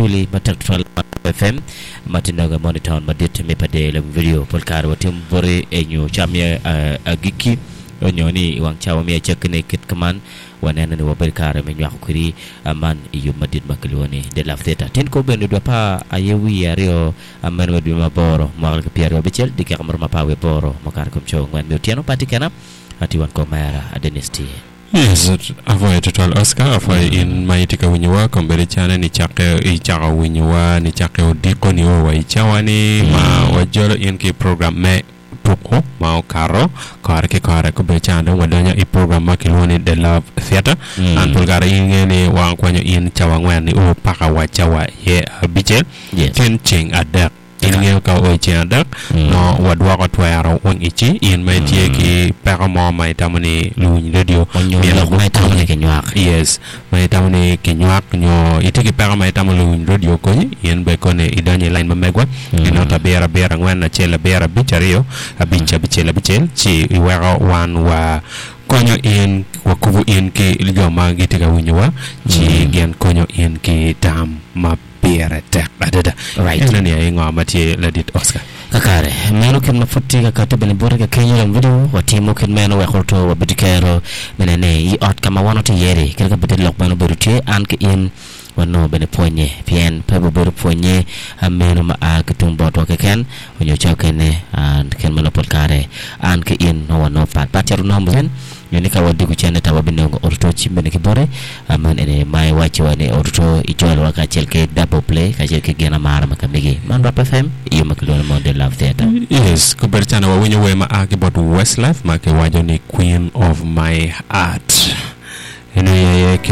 Duli matek tutwal ma FM ma tye nonge mono i taun madit me Pader Lawiny Radio. Pol kare watimo boti enyo ca me agikki onyo ni i wang cawa me acakkine kit kaman waneno ni wabedo kare me nywako kwedi man i yub madit ma kilwongo ni The Love Theatre. Tin kor bene dwe apar aye wiye aryo meno me dwe me aboro mwaka alip ki 26 dyekeka maromo apar wiye aboro mukato kom co angwen me otyeno pati kena atye wan kor mera Dennis tye. Yes, apwoyo tutwal Oscar, apwoyo in ma itye ka winyowa kombeddi cane nicakke icako winyowa nicakke odiko nio wa i cawa ni ma wajolo in ki i program me tuku ma okato kore ki kore kombeddi cana dong wadonyo i program ma kilwongo ni The Love Theatre an pol kare in ingeyo ni wakwanyo in cawa angwen nio paka wa cawa iye abicel Yes. tin ceng adek. In ingeyo ka oo i ceng adek, nongo wadwoko twero weng ici in ma itye ki peko mo ma itamo ni luwiny redio Onyo myero lok ma itamo ni gukonyi. kinywak. Yes, ma itamo ni kinywak nyo itye ki peko ma itamo luwiny redio okonyi, in bene koni idonyo i lain ma megwa i not abiro abiro angwen acel abiro abic aryo abic abicel abicel ci iweko wan wa konyo in wakubo in ki jo ma gitye ka winyowa ci gin konyo in ki tam ma Pire tek adada. Right. Eno ni aye ngo ma tye ladit Oscar. Kakare, meno kit ma pud tye ka kati bene bote ka kenyo dong video watimo kit meno wek oto wabed ki kero me nene i ot ka ma wan watye iye-ri. Kadi ka bed lok meno obedo tye, an ki in wanongo bene pwonye, pien pe wabedo pwonye meno ma a ki tung botwa keken onyo ca okene kit ma nongo pol kare an ki in nongo wanongo pat pat cito nongo bene Nyo ni ka wadiko cente ta wabinongo oruto cim bene ki bote. Man eni ma iwacciwa ni oruto ijolowa kacel ki double play kacel ki gin amara ma ka megi. Man Rap FM i yo ma kilwongo ni Monday Love Theatre. Yes, kobedo cana wawinyo wer ma a ki bot Westlife ma kiwaco ni Queen of My Heart. Eno aye kit.